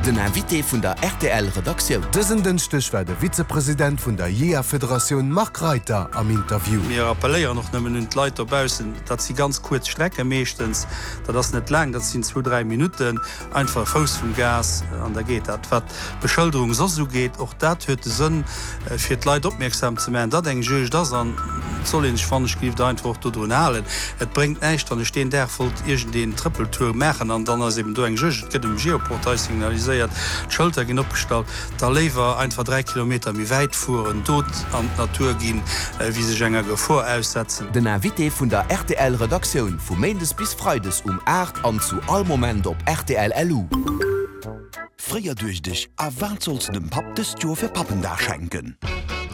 Den Invité vun der rtl Redaktioun. Dësen Dënschdeg war de Vizepresident vun der Jeeërfederatioun Marc Reiter am Interview. Mir appelléieren och nëmmen un d'Leit dobaussen, dat si ganz kuerz Strecke meeschtens, dat ass net laang, dat sinn zwou, dräi Minutten, einfach e Fouss vum Gas an da geet dat. Wat d'Beschëlderung soss ugeet, och dat huet de Sënn, fir d'Leit opmierksam ze maachen, datt eng Juegd ass an et soll ee sech wannechgelift einfach och dodrun halen. Et bréngt näischt, wann ech deen Dag wollt iergendeen Trëppeltour maachen an dann ass eben do eng Juegd, et gëtt um Geoportail signaliséiert, d'Schëlter ginn opgestallt, da léiwer einfach 3 Kilometer méi wäit fueren, do an d'Natur ginn, wéi sech enger Gefor aussetzen. Den Invité vun der rtl Redaktioun vu Méindes bis Freides um 8 an zu all Moment op rtl LU. Fréier duecht ech, A wat solls de dem Papp dëst Joer fir Pappendag schenken?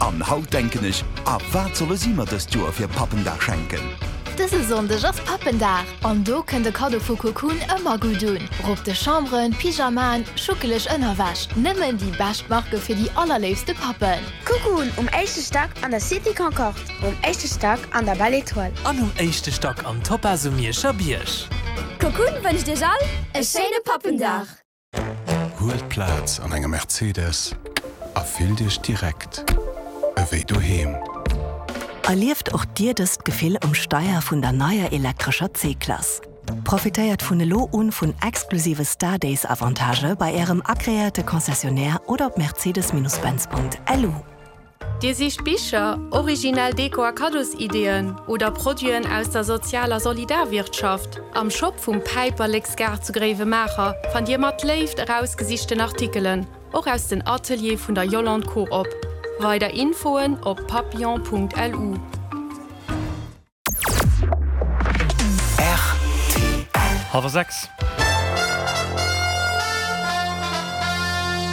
An haut denken ech, A wat solle si mer dëst Joer fir Pappendag schenken? Dëse Sonndeg ass Pappendag an do kënnt e Kaddo vu Cocoon ëmmer gutt un. Robb de Chamberen, Pyjamaen, schuckeleg Ënnerwäsch, nëmmen déi bescht Marke fir déi allerléifste Pappen. Cocoon um éischte Stack an der Cité Concorde, um éischte Stack an der Belle Etoile. An um éischte Stack am Topaz um Mierscher Bierg. Cocoon wënscht iech all e schéine Pappendag! Huelt Plaz an engem Mercedes a fillt Iech direkt ewéi doheem. Erlieft och Dir dëst Gefill um Steier vun der neier elektrescher C-Klass. Profitéiert vun elo un vun exklusive Star Days Avantagë bei Ärem agreéierte Concessionnaire oder op mercedes-benz.lu. Dir sicht Bicher, originell Deko a Kaddosideeën oder Produiten aus der Sozial a Solidarwirtschaft? Am Shop vum Päiperleksgaart zu Gréiwemaacher fannt Dir mat Léift erausgesichten Artikelen, och aus den Ateliere vun der Yolande Coop. Weider Infoen op papillon.lu. Hallwer 6.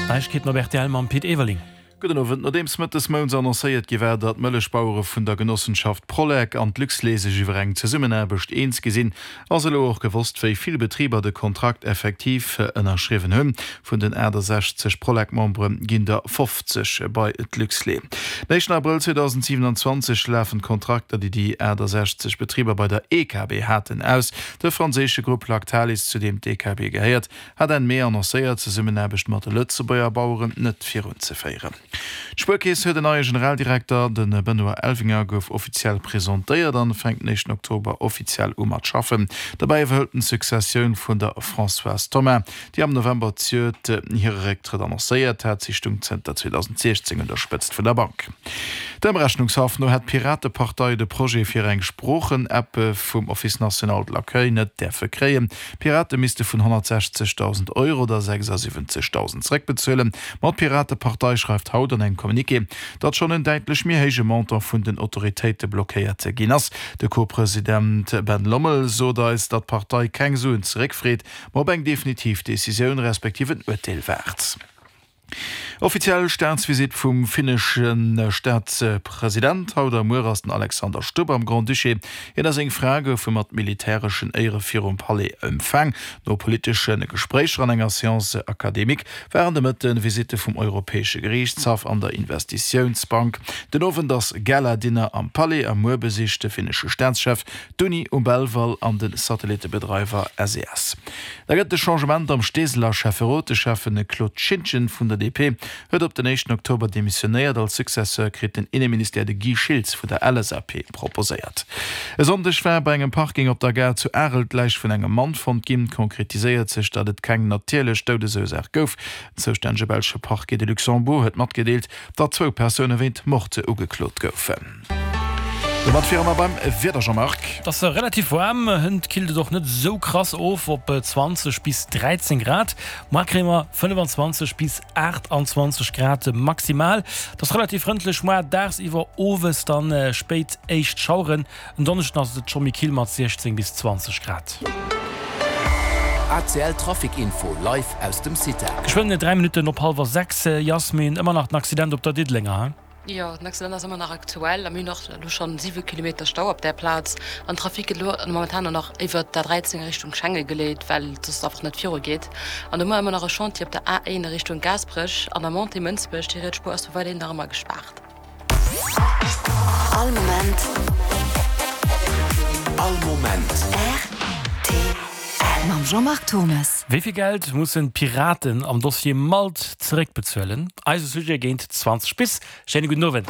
Neiegkeeten op rtl mam Pit Everling. Gudden Owend. Nodeems mëttes mounts annoncéiert gi war, datt d'Mëllechbauere vun der Genossenschaft Prolec an d'Luxlait sech iwwer eng Zesummenaarbecht eens gi sinn, ass elo och gewosst, wéi vill Betriber de Kontrakt effektiv ënnerschriwwen hunn. Vun den 68 Prolec-Membere ginn der 50 bei d'Luxlait. Den éischten Abrëll 2027 lafen d'Kontrakter, déi déi 68 Betriber bei der EKB haten, aus. De franséische Grupp Lactalis, zu deem d'EKB gehéiert, hat Enn Mee annoncéiert, d'Zesummenaarbecht mat de Lëtzebuerger Baueren net virunzeféieren. D'Spuerkeess huet en neie Generaldirekter, De Benoît Elvinger gouf offiziell presentéiert an fänkt den éischten Oktober offiziell u mat schaffen. Dobäi iwwerhëlt en d'Successioun vun der Françoise Thoma, déi am November zejoert hire Récktrëtt annoncéiert hat. Si stung zënter 2016 un der Spëtzt vun der Bank. Dem Rechnungshaff no hätt d'Piratepartei de Projet fir eng Sproochen-App vum Office national de l'accueil net däerfe kréien. D'Pirate misste vun 160.000 Euro der 76.000 zeréckbezuelen. Ma d'Piratepartei schreift haut an engem Communiqué, datt schonn en däitlech méi héije Montant vun den Autoritéite blockéiert ginn ass. De Co-President Ben Lommel sot eis, datt d'Partei keng Suen zeréckfreet, ma op eng definitiv Decisioun respektiv en Urteel waart. Offiziell Staatsvisitt vum finnesche Staatspresident. Haut a muer ass den Alexander Stubb am Grand-Duché. Hien a seng Fra goufe mat militäreschen Éiere virum Palais empfaang. No politesche Gespréicher an enger Séance académique waren de Mëtte Visitte vum Europäesche Geriichtshaff an der Investitiounsbank. Den Owend ass Gala-Dinner am Palais a muer besicht de finnesche Staatschef d'Uni um Belval an de Satellittebedreiwer SES. Da gëtt et e Changement am Steeseler Schäfferot. De Schäffen Claude Schintgen vun der DP huet op den éischten Oktober demissionéiert. Als Successeur kritt den Inneministère de Guy Schiltz vun der LSAP proposéiert. E Sonndeg war bei engem Parking op der Gare zu Arel d'Läich vun engem Mann fonnt ginn. Konkretiséiert sech, datt et keng natierlech Doudesursaach gouf. Den zoustännege belsche Parquet de Luxembourg huet matgedeelt, datt zwou Persoune wéint Mord ugeklot goufen. Domat wiere mer beim Wieder, Jean-Marc. Et ass relativ waarm, hënt killt et och net esou krass of op 20 bis 13 Grad. Moar kréie mer 25 bis 28 Grad maximal. Et ass relativ frëndlech moar dagsiwwer, owes dann spéit éischt Schaueren. En Donneschden ass et scho méi kill mat 16 bis 20 Grad. ACL Trafic Info live aus dem CITA. Geschwënn 3 Minutten op hallwer 6, Yasmin, ëmmer nach den Accident op der Diddelenger, he? Jo, den Accident ass ëmmer nach aktuell a mir hunn och elo schonn 7 Kilometer Stau op där Plaz. An den Trafic gëtt elo momentan och nach iwwert d'A13 a Richtung Schengen geleet, well et soss einfach net viru geet. An do hu mer ëmmer nach e Chantier op der A1 a Richtung Gaasperech an der Montée Mënsbech. Déi riets Spuer ass do weiderhin nach ëmmer gespaart. All Moment. All Moment. Rtl. Mam Jean-Marc Turmes. Wéi vill Geld mussen d'Piraten am Dossier Malt zeréckbezuelen? Eise Sujet géint 20 bis. Schéine gudden Owend.